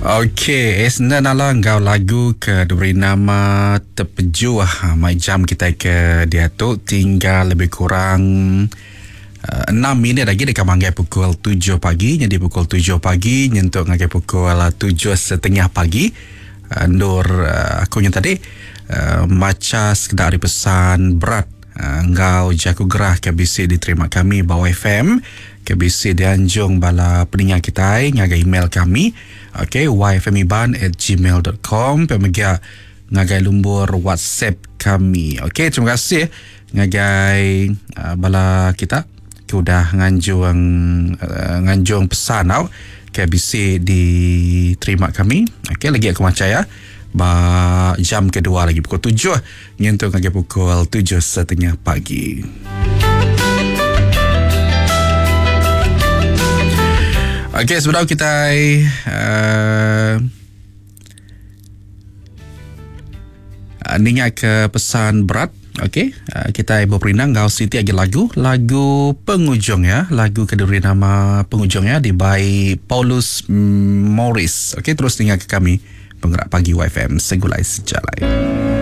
Okey, Esna Nala enggau lagu ke diberi nama Tepejuh. Ha, mai jam kita ke diatu tinggal lebih kurang 6 minit lagi deka manggai pukul 7 pagi. Jadi pukul 7 pagi nyentuk ngagai pukul 7.30 pagi. Endur aku nya tadi macha sekeda ari pesan berat enggau jaku gerah ke bisi diterima kami ba YFM ke bisi dianjung bala peninga kitai ngagai email kami ok yfmiban@gmail.com pia mega ngagai lumbur WhatsApp kami. Ok terima kasih ngagai bala kita ke udah nganjung nganjung pesan tau ke bisi diterima kami. Ok lagi aku macha ya ba jam kedua lagi pukul 7 nyentuk ngagai pukul 7.30 pagi. Okey, sebelum kita ninga ke pesan berat, okey, kita berperindang enggau siti agi lagu, lagu pengujung ya, lagu ke diberi nama pengujung ya dibai Paulus Morris. Okey, terus ninga ke kami Penggerak Pagi YFM Segulai Sejalai.